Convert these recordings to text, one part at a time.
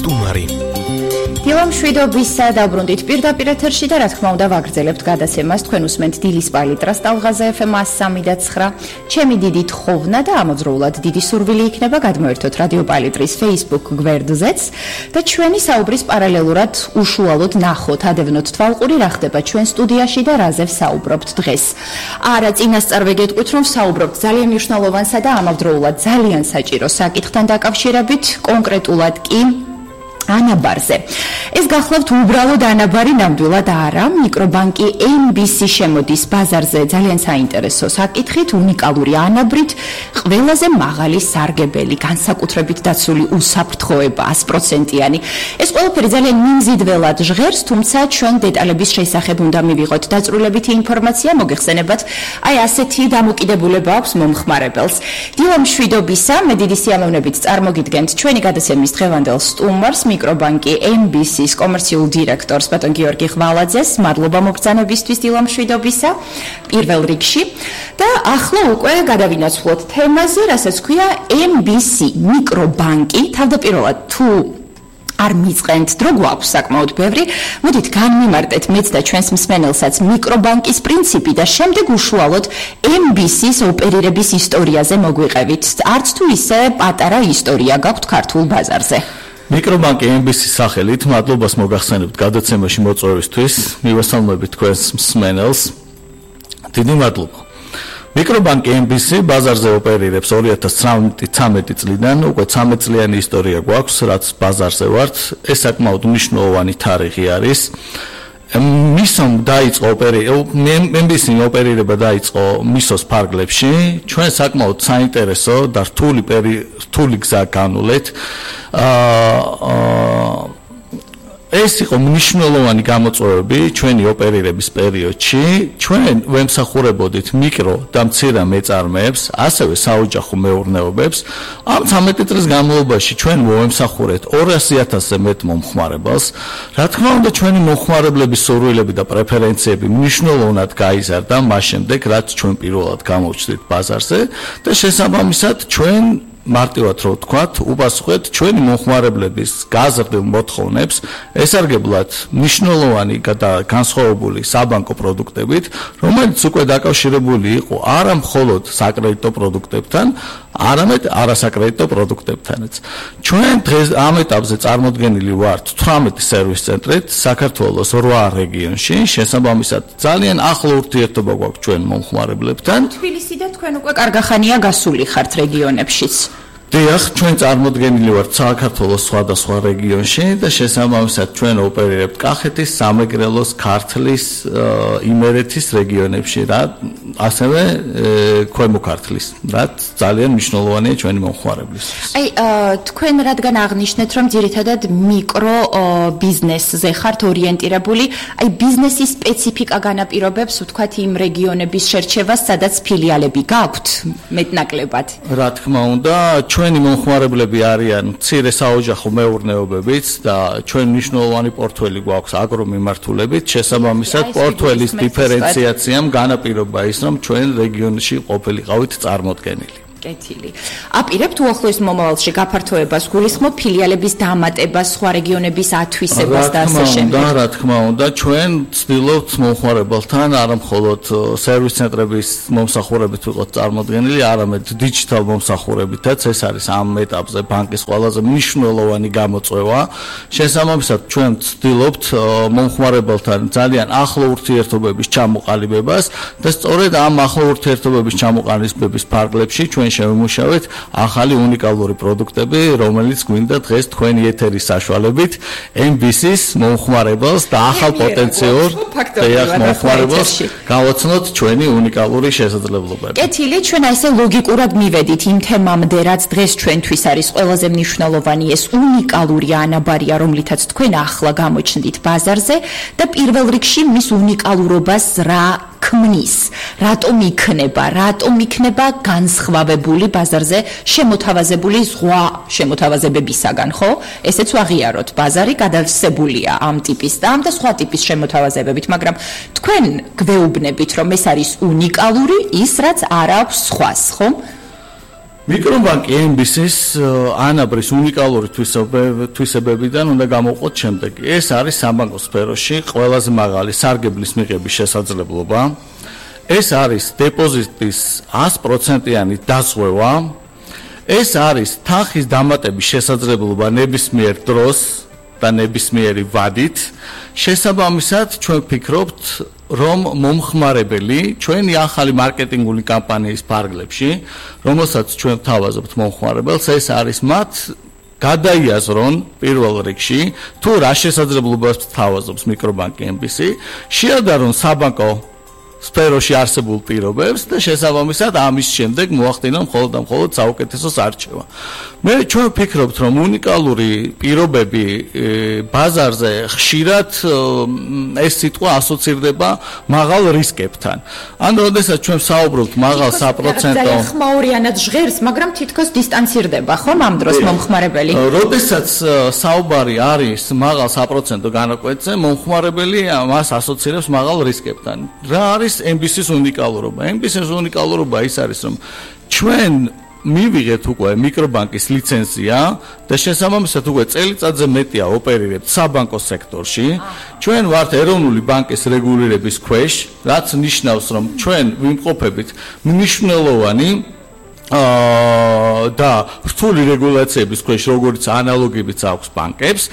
სტუმარი. დილამ შვიდობისა დაბრუნდით პირდაპირ ეთერში და რა თქმა უნდა ვაგრძელებთ გადაცემას თქვენ უსმენთ დილის პალიტრას ტალღაზე FM 103.9. ჩემი დიდი თხოვნა და ამოძროულად დიდი სურვილი იქნება გადმოერთოთ რადიო პალიტრის Facebook გვერდზეც და ჩვენი საუბრის პარალელურად უშუალოდ ნახოთ, ადევნოთ თვალყური რა ხდება ჩვენ სტუდიაში და რაზე ვსაუბრობთ დღეს. არა წინასწარ ვეგეტყვით რომ ვსაუბრობთ ძალიან მნიშვნელოვანსა და ამავდროულად ძალიან საჭირო საკითხთან დაკავშირებით, კონკრეტულად კი ანაბარზე. ეს გახლავთ უბრალოდ ანაბარი ნამდვილად არა. მიკრობანკი MBC შემოდის ბაზარზე ძალიან საინტერესო საკითხით, უნიკალური ანაბრით, ყველაზე მაღალი სარგებელი, განსაკუთრებით დაცული უსაფრთხოება 100%-იანი. ეს ყველაფერი ძალიან მიმზიდველად ჟღერს, თუმცა ჩვენ დეტალების შესახებ უნდა მივიღოთ დაწვრილებითი ინფორმაცია, მოგეხსენებათ, აი ასეთი დამოკიდებულება აქვს მომხმარებელს. დილამ შვიდობისა, მე დიდი სიამოვნებით წარმოგიდგენთ ჩვენი გადაცემის დღევანდელ სტუმარს, მიკრობანკი MBC-ის კომერციულ დირექტორს ბატონ გიორგი ხვალაძეს. მადლობა მოგზანებისთვის დილამ შვიდობისა პირველ რიგში და ახლა უკვე გადავინაცვლოთ თემაზე, რასაც ქვია MBC მიკრობანკი. თავდაპირველად თუ არ მიწყენთ დრო გვაქვს საკმაოდ ბევრი, მოდით განმიმარტეთ მეც და ჩვენს მსმენელსაც მიკრობანკის პრინციპი და შემდეგ უშუალოდ MBC-ის ოპერირების ისტორიაზე მოგვიყევით. არც თუ ისე პატარა ისტორია გაქვთ ქართულ ბაზარზე. მიკრობანკი MBC-ის სახელით მადლობას მოგახსენებთ გადაცემაში მოწვევისთვის, მივესალმებით თქვენს მსმენელს. დიდი მადლობა. მიკრობანკი MBC ბაზარზე ოპერირებს 2013 წლიდან, უკვე 13 წლიანი ისტორია გვაქვს, რაც ბაზარზე ვართ. ეს საკმაოდ მნიშვნელოვანი თარიღი არის. მისომ დაიწყო MBC-ი ოპერირება დაიწყო მისოს ფარგლებში. ჩვენ საკმაოდ საინტერესო და რთული გზა განვლეთ. ეს იყო მნიშვნელოვანი გამოწვევები ჩვენი ოპერირების პერიოდში. ჩვენ ვემსახურებოდით მიკრო და მცირე მეწარმეებს, ასევე საოჯახო მეურნეობებს. ამ 13 წლის განმავლობაში ჩვენ მოვემსახურეთ 200,000-ზე მეტ მომხმარებელს. რა თქმა უნდა, ჩვენი მომხმარებლების სურვილები და პრეფერენციები მნიშვნელოვნად გაიზარდა მას შემდეგ, რაც ჩვენ პირველად გამოვჩნდით ბაზარზე და შესაბამისად ჩვენ მარტივად რო ვთქვათ, უპასუხეთ ჩვენი მომხმარებლების გაზრდილ მოთხოვნებს, ესარგებლად მნიშვნელოვანი და განსხვავებული საბანკო პროდუქტებით, რომელიც უკვე დაკავშირებული იყო არა მხოლოდ საკრედიტო პროდუქტებთან, არამედ არასაკრედიტო პროდუქტებთანაც. ჩვენ დღეს ამ ეტაპზე წარმოდგენილი ვართ 18 სერვის ცენტრით საქართველოს 8 რეგიონში, შესაბამისად ძალიან ახლო ურთიერთობა გვაქვს ჩვენ მომხმარებლებთან. თბილისი და თქვენ უკვე კარგახანია გასული ხართ რეგიონებშიც. დიახ, ჩვენ წარმოდგენილი ვართ საქართველოს სხვადასხვა რეგიონში და შესაბამისად ჩვენ ოპერირებთ კახეთის, სამეგრელოს, ქართლის, იმერეთის რეგიონებში და ასევე ქვემო ქართლის, რაც ძალიან მნიშვნელოვანია ჩვენი მომხმარებლისთვის. აი, თქვენ რადგან აღნიშნეთ, რომ ძირითადად მიკრო ბიზნესზე ხართ ორიენტირებული, აი ბიზნესის სპეციფიკა განაპირობებს, ვთქვათ, იმ რეგიონების შერჩევას, სადაც ფილიალები გაქვთ მეტნაკლებად. რა თქმა უნდა, ჩვენი მომხმარებლები არიან მცირე საოჯახო მეურნეობებიც და ჩვენ მნიშვნელოვანი პორტფელი გვაქვს აგრომიმართულებით. შესაბამისად, პორტფელის დიფერენციაციამ განაპირობა ის, რომ ჩვენ რეგიონში ყოფილიყავით წარმოდგენილი. კეთილი. აპირებთ უახლოეს მომავალში გაფართოებას, გულისხმობ ფილიალების დამატებას, სხვა რეგიონების ათვისებას და ასე შემდეგ. რა თქმა უნდა, ჩვენ ვცდილობთ მომხმარებელთან არა მხოლოდ სერვის ცენტრების მომსახურებით ვიყოთ წარმოდგენილი, არამედ დიჯიტალ მომსახურებითაც. ეს არის ამ ეტაპზე ბანკის ყველაზე მნიშვნელოვანი გამოწვევა. შესაბამისად, ჩვენ ვცდილობთ მომხმარებელთან ძალიან ახლო ურთიერთობების ჩამოყალიბებას და სწორედ ამ ახლო ურთიერთობების ჩამოყალიბების ფარგლებში ჩვენ შევიმუშავეთ ახალი უნიკალური პროდუქტები, რომელიც გვინდა დღეს თქვენი ეთერის საშუალებით MBC-ის მომხმარებელს და ახალ პოტენციურ მომხმარებელს გავაცნოთ ჩვენი უნიკალური შესაძლებლობები. კეთილი, ჩვენ ასე ლოგიკურად მივედით იმ თემამდე, რაც დღეს ჩვენთვის არის ყველაზე მნიშვნელოვანი, ეს უნიკალური ანაბარია, რომლითაც თქვენ ახლა გამოჩნდით ბაზარზე და პირველ რიგში მის უნიკალურობას რა ქმნის, რატომ იქნება განსხვავებული ბაზარზე შემოთავაზებული სხვა შემოთავაზებებისაგან, ხო? ესეც ვაღიაროთ, ბაზარი გადავსებულია ამ ტიპის და ამ და სხვა ტიპის შემოთავაზებებით, მაგრამ თქვენ გვეუბნებით, რომ ეს არის უნიკალური, ის რაც არ აქვს სხვას, ხო? მიკრობანკი MBC-ის ანაბრის უნიკალური თვისებებიდან უნდა გამოვყოთ შემდეგი. ეს არის საბანკო სფეროში ყველაზე მაღალი სარგებლის მიღების შესაძლებლობა. ეს არის დეპოზიტის 100%-იანი დაზღვევა. ეს არის თანხის დამატების შესაძლებლობა ნებისმიერ დროს და ნებისმიერი ვადით. შესაბამისად, ჩვენ ვფიქრობთ, რომ მომხმარებელი ჩვენი ახალი მარკეტინგული კამპანიის ფარგლებში, რომელსაც ჩვენ ვთავაზობთ მომხმარებელს, ეს არის მათ გადაიაზრონ პირველ რიგში, თუ რა შესაძლებლობას თავაზობს მიკრობანკი MBC, შეადარონ საბანკო სფეროში არსებულ პირობებს და შესაბამისად ამის შემდეგ მოახდინონ მხოლოდ და მხოლოდ საუკეთესოს არჩევა. მე ჩვენ ვფიქრობთ, რომ უნიკალური პირობები ბაზარზე ხშირად ეს სიტყვა ასოცირდება მაღალ რისკებთან. ანუ როდესაც ჩვენ საუბრობთ მაღალ საპროცენტო ძალიან ხმაურიანად ჟღერს, მაგრამ თითქოს დისტანცირდება ხომ ამ დროს მომხმარებელი? როდესაც საუბარი არის მაღალ საპროცენტო განაკვეთზე, მომხმარებელი მას ასოცირებს მაღალ რისკებთან. რა არის MBC-ის უნიკალურობა? MBC-ის უნიკალურობა ის არის, რომ ჩვენ მივიღეთ უკვე მიკრობანკის ლიცენზია და შესაბამისად უკვე წელიწადზე მეტია ოპერირებთ საბანკო სექტორში. ჩვენ ვართ ეროვნული ბანკის რეგულირების ქვეშ, რაც ნიშნავს, რომ ჩვენ ვიმყოფებით მნიშვნელოვანი და რთული რეგულაციების ქვეშ, როგორც ანალოგებიც აქვს ბანკებს.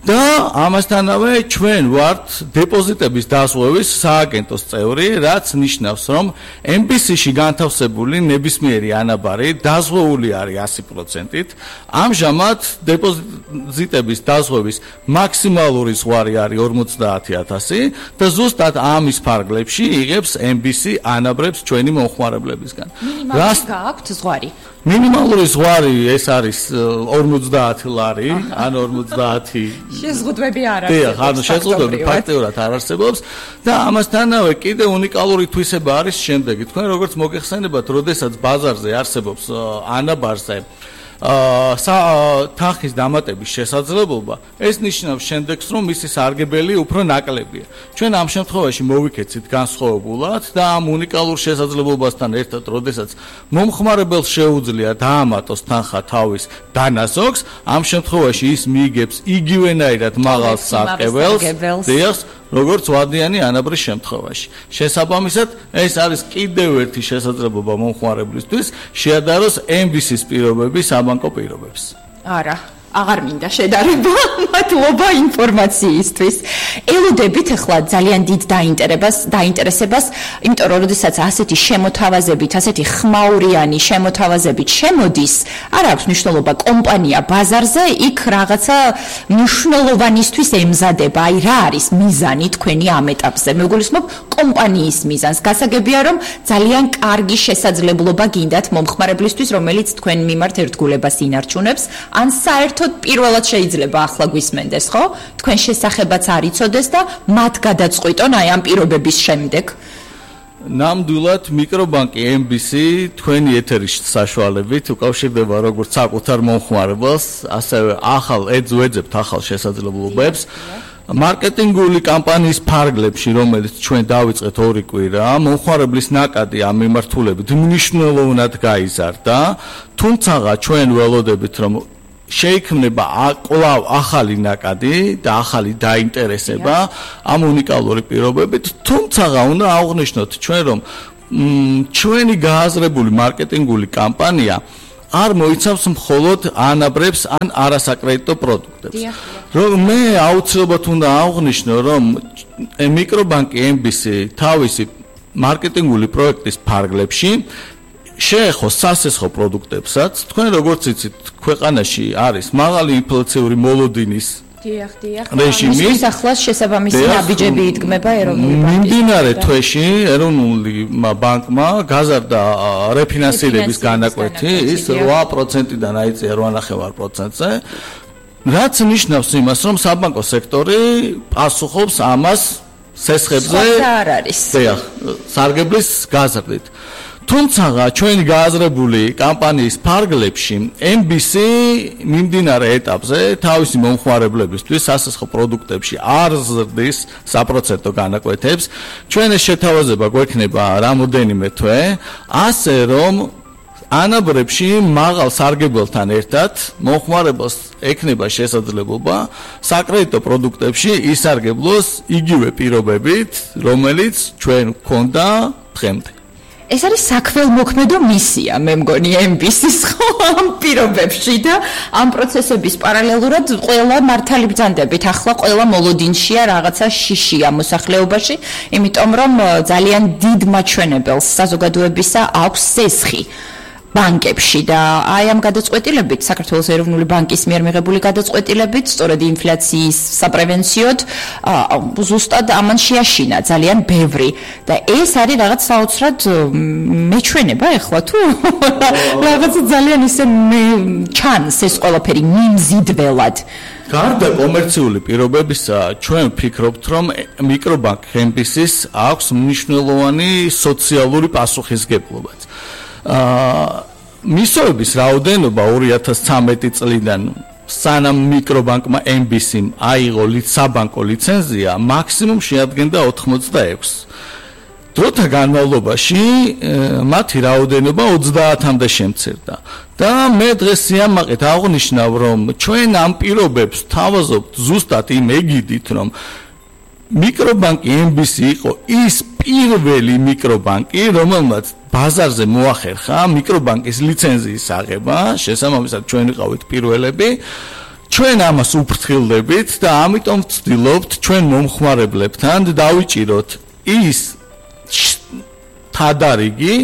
და ამასთანავე ჩვენ ვართ დეპოზიტების დაზღვევის სააგენტოს წევრი, რაც ნიშნავს, რომ MBC-ში განთავსებული ნებისმიერი ანაბარი დაზღვეული არის 100%-ით. ამჟამად დეპოზიტების დაზღვევის მაქსიმალური ზღვარი არის 50,000 და ზუსტად ამის ფარგლებში იღებს MBC ანაბრებს ჩვენი მომხმარებლებისგან. რას გააქვთ ზღვარი? მინიმალური ზღვარი ეს არის 50 ლარი, ან 50 შეზღუდვები არ არსებობს. ანუ შეზღუდვები ფაქტიურად არ არსებობს და ამასთანავე კიდე უნიკალური თვისება არის შემდეგი. თქვენ როგორც მოგეხსენებათ, როდესაც ბაზარზე არსებობს ანაბარზე თანხის დამატების შესაძლებლობა, ეს ნიშნავს შემდეგს, რომ მისი სარგებელი უფრო ნაკლებია. ჩვენ ამ შემთხვევაში მოვიქეცით განსხვავებულად და ამ უნიკალურ შესაძლებლობასთან ერთად, როდესაც მომხმარებელს შეუძლია დაამატოს თანხა თავის დანაზოგს, ამ შემთხვევაში ის მიიგებს იგივენაირად მაღალ სარგებელს, როგორც ვადიანი ანაბრის შემთხვევაში. შესაბამისად, ეს არის კიდევ ერთი შესაძლებლობა მომხმარებლისთვის შეადაროს MBC-ის პირობები საბანკო პირობებს. არა, აღარ მინდა შედარება, მადლობა ინფორმაციისთვის. ელოდებით ახლა ძალიან დიდ დაინტერესებას, იმიტომ რომ როდესაც ასეთი შემოთავაზებით, ასეთი ხმაურიანი შემოთავაზებით შემოდის, არ აქვს მნიშვნელობა კომპანია ბაზარზე, იქ რაღაცა მნიშვნელოვანისთვის ემზადება. აი რა არის მიზანი თქვენი ამ ეტაპზე? მეგულისმობ კომპანიის მიზანს. გასაგებია რომ ძალიან კარგი შესაძლებლობა გინდათ მომხმარებლისთვის, რომელიც თქვენ მიმართ ერთგულებას ინარჩუნებს, ან საერთოდ პირველად შეიძლება ახლა გვისმენდეს, ხო? თქვენ შესახებაც არ იცოდეს და მათ გადაწყვიტონ აი ამ პირობების შემდეგ. ნამდვილად მიკრობანკი MBC თქვენი ეთერის საშუალებით უკავშირდება როგორც საკუთარ მომხმარებელს, ასევე ეძებთ ახალ შესაძლებლობებს. მარკეტინგული კამპანიის ფარგლებში, რომელიც ჩვენ დავიწყეთ 2 კვირა, მომხმარებლის ნაკადი ამ მიმართულებით მნიშვნელოვნად გაიზარდა, თუმცა ჩვენ ველოდებით, რომ შეიქმნება კვლავ ახალი ნაკადი და ახალი დაინტერესება ამ უნიკალური პირობებით, თუმცა უნდა აღვნიშნოთ ჩვენ, რომ ჩვენი გააზრებული მარკეტინგული კამპანია არ მოიცავს მხოლოდ ანაბრებს ან არასაკრედიტო პროდუქტებს. რომ მე აუცილებლად უნდა აღვნიშნო, რომ მიკრობანკი MBC თავისი მარკეტინგული პროექტის ფარგლებში შეეხოს სასესხო პროდუქტებსაც. თქვენ როგორც იცით, ქვეყანაში არის მაღალი ინფლაციური მოლოდინის რეჟიმი. ახლაც შესაბამისი ნაბიჯები იდგმება ეროვნული ბანკის. მიმდინარე თვეში ეროვნული ბანკმა გაზარდა რეფინანსირების განაკვეთი, ის 8%-დან აიწია 8.5%-ზე. რაც ნიშნავს იმას, რომ საბანკო სექტორი პასუხობს ამას სესხებზე. არ არის. სარგებლის გაზრდით. თუმცა ჩვენი გააზრებული კამპანიის ფარგლებში MBC მიმდინარე ეტაპზე თავისი მომხმარებლებისთვის სასესხო პროდუქტებში არ ზრდის საპროცენტო განაკვეთებს. ჩვენ ეს შეთავაზება გვექნება რამოდენიმე თვე, ასე რომ ანაბრებში მაღალ სარგებელთან ერთად მომხმარებელს ექნება შესაძლებლობა საკრედიტო პროდუქტებში ისარგებლოს იგივე პირობებით, რომელიც ჩვენ გვქონდა დღემდე. ეს არის საქველმოქმედო მისია, მე მგონი MBC-ის ხო ამ პირობებში და ამ პროცესების პარალელურად ყველა მართალი ბრძანდებით ახლა ყველა მოლოდინშია რაღაცა შიშია მოსახლეობაში, იმიტომ რომ ძალიან დიდ მაჩვენებელს საზოგადოებისა აქვს სესხი ბანკებში და აი ამ გადაწყვეტილებით საქართველოს ეროვნული ბანკის მიერ მიღებული გადაწყვეტილებით სწორედ ინფლაციის საპრევენციოდ ზუსტად ამან შეაშინა ძალიან ბევრი და ეს არის რაღაც საოცრად მეჩვენება ეხლა თუ რაღაც ძალიან ისე ჩანს ეს ყველაფერი მიმზიდველად გარდა კომერციული პირობებისა ჩვენ ვფიქრობთ რომ მიკრობანკ MBC-ს აქვს მნიშვნელოვანი სოციალური პასუხისგებლობაც მისოების რაოდენობა 2013 წლიდან სანამ მიკრობანკმა MBC-მ აიღო საბანკო ლიცენზია მაქსიმუმ შეადგენდა 86 დროთა განმავლობაში მათი რაოდენობა 30-მდე შემცირდა და მე დღეს სიამაყედ აღვნიშნავ რომ ჩვენ ამ პირობებს თავაზობთ ზუსტად იმ ეგიდით რომ მიკრობანკი MBC იყო ის პირველი მიკრობანკი რომელმაც ბაზარზე მოახერხა მიკრობანკის ლიცენზიის აღება, შესაბამისად ჩვენ ვიყავით პირველები. ჩვენ ამას უფრთხილდებით და ამიტომ ვცდილობთ ჩვენ მომხმარებლებთან დავიჭიროთ ის თადარიგი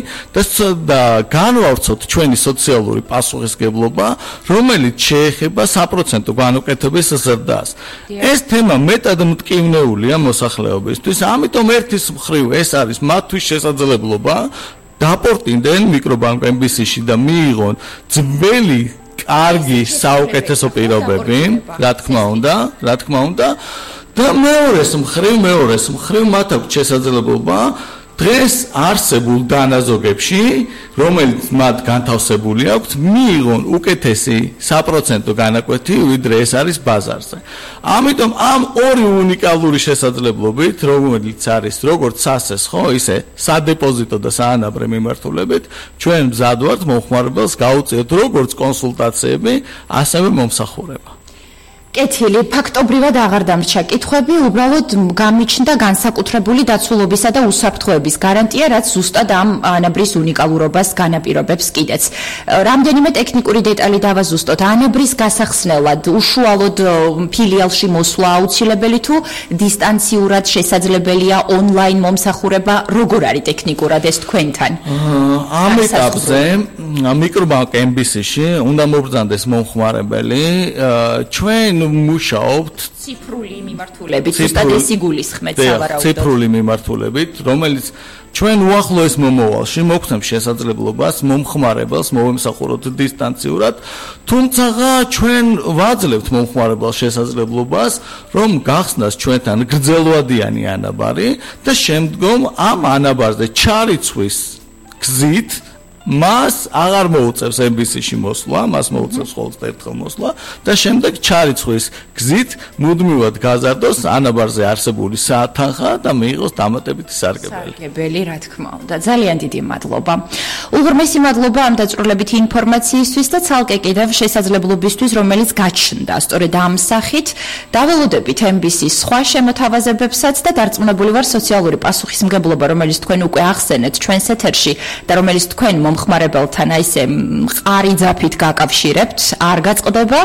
და განვავრცოთ ჩვენი სოციალური პასუხისგებლობა, რომელიც შეეხება საპროცენტო განუკეთების ზრდას. ეს თემა მეტად მტკივნეულია მოსახლეობისთვის, ამიტომ ერთის მხრივ ეს არის მათთვის შესაძლებლობა დაპორტინდნენ მიკრობანკ MBC-ში და მიიღონ ძველი კარგი საუკეთესო პირობები, რა თქმა უნდა და მეორეს მხრივ მათ აქვს შესაძლებლობა დღეს არსებულ დანაზოგებში, რომელიც მათ განთავსებული აქვს, მიიღონ უკეთესი საპროცენტო განაკვეთი, ვიდრე ეს არის ბაზარზე. ამიტომ ამ ორი უნიკალური შესაძლებლობით, რომელიც არის როგორც სასეს, ხო, ისე სადეპოზიტო და საანაბრე მიმართულებით, ჩვენ მზად ვართ მომხმარებელს გავუწიოთ როგორც კონსულტაციები, ასევე მომსახურება. კეთილი, ფაქტობრივად აღარ დამრჩა კითხვები, უბრალოდ გამიჩნდა განსაკუთრებული დაცულობისა და უსაფრთხოების გარანტია, რაც ზუსტად ამ ანაბრის უნიკალურობას განაპირობებს კიდეც. რამდენიმე ტექნიკური დეტალი დავაზუსტოთ. ანაბრის გასახსნელად უშუალოდ ფილიალში მოსვლა აუცილებელი თუ დისტანციურად შესაძლებელია ონლაინ მომსახურება, როგორ არის ტექნიკურად ეს თქვენთან? ამ ეტაპზე მიკრობანკ MBC-ში უნდა მობრძანდეს მომხმარებელი, ჩვენ მუშაობთ ციფრული მიმართულებით, ზუსტად ეს იგულისხმეთ სავარაუდოდ. ციფრული მიმართულებით, რომელიც ჩვენ უახლოეს მომავალში მოგცემს შესაძლებლობას მომხმარებელს მოვემსახუროთ დისტანციურად, თუმცა ჩვენ ვაძლევთ მომხმარებელს შესაძლებლობას, რომ გახსნას ჩვენთან გრძელვადიანი ანაბარი და შემდგომ ამ ანაბარზე ჩარიცვის გზით მას აღარ მოუწევს MBC-ში მოსვლა, მას მოუწევს ხოლმე ერთხელ მოსვლა და შემდეგ ჩარიცხვის გზით მუდმივად გაზარდოს ანაბარზე არსებული საათთანხა და მიიღოს დამატებითი სარგებელი. სარგებელი, რა თქმა უნდა. ძალიან დიდი მადლობა. უღრმესი მადლობა ამ დაწვრილებითი ინფორმაციისთვის და ცალკე კიდევ შესაძლებლობისთვის, რომელიც გაჩნდა. სწორედ ამ სახით დაველოდებით MBC-ის სხვა შემოთავაზებებსაც და დარწმუნებული ვარ სოციალური პასუხისმგებლობა, რომელიც თქვენ უკვე ახსენეთ ჩვენს ეთერში და რომელიც თქვენ მომხმარებელთან აი ესე მყარი ძაფით გაკავშირებთ, არ გაწყდება